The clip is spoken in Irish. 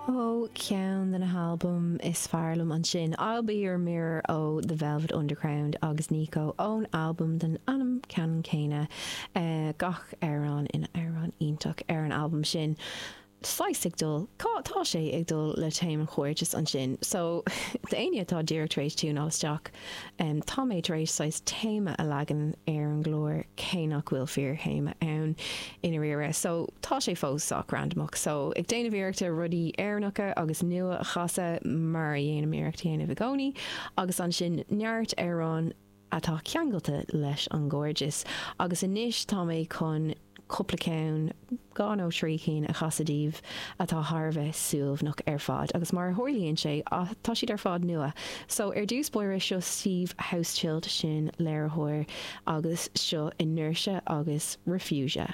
Ó ceann de na halbaim is fearr liom ansin, I'll Be Your Mirror ó The Velvet Underground agus Nico ón albam den ainm ceannann céanna. Gach amhrán ina amhrán iontach ar an albam sin. Saghas ag dul, cá, tá sé ag dul le téama an chairdis ansin. So, d'éinne atá díreach tar éis tiúnáil isteach, tá mé tar éis saghas téama a leagan ar an gclár cé nach bhfuil fíor-théama ann i ndáiríre. So, tá sé fós sách randamach. So, ag déanamh iarrachta rudaí Éireannacha agus nua a chasadh mar a dhéanaim iarracht a dhéanamh i gcónaí agus ansin neart amhrán atá ceangailte leis an gcairdeas. Agus anois tá mé chun cúpla ceann, 2 nó 3 cinn a chasadh daoibh atá thar a bheith suaimhneach ar fad. Agus mar a tharlaíonn sé, tá siad ar fad nua. So ar dtús báire, seo Steve Hauschildt, sin léiritheoir, agus seo Inertia agus Refugia.